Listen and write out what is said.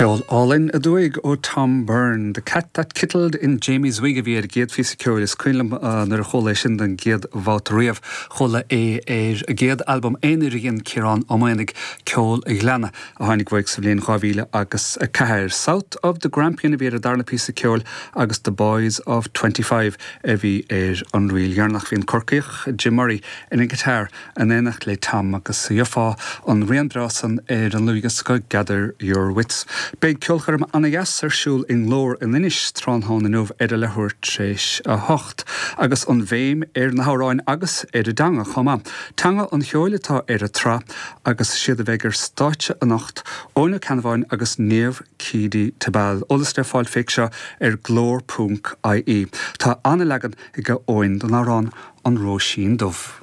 Ceol álainn aduaidh ó Tom Byrne, The Cat That Kittled in Jamie's Wig a bhí ar an gcéad phíosa ceoil. Is cuimhin liom nuair a chuala é sin don gcéad bhabhta riamh. Chuala é ar an gcéad albam aonair a dhein Ciarán Ó Maonaigh, Ceol an Ghleanna, a tháinig uaidh sa bhliain 2004. South of the Grampian a bhí ar an darna píosa ceoil agus The Boys of 25 a bhí ar an ríl dheireanach. Bhí an Corcaíoch Jim Murray ar an guitar in éineacht le Tom agus gheofá an rian breá san ar an dlúthdhiosca Gather Your Wits. Beidh ceolchoirm ana-dheas ar siúl i nGlór in Inis tráthnóna inniu ar a leathuair tar éis 8, agus an bhéim ar na hamhráin agus ar an dteanga chomh maith. Teanga an Cheoil atá ar an tsraith agus is iad a bheidh ar stáitse anocht, Eoin Ó Ceannabháin agus Niamh Keady Tebal. Eolas le fáil fé seo ar glór ponc ie. Tá ana-leagan ag Eoin den amhrán An Róisín Dubh.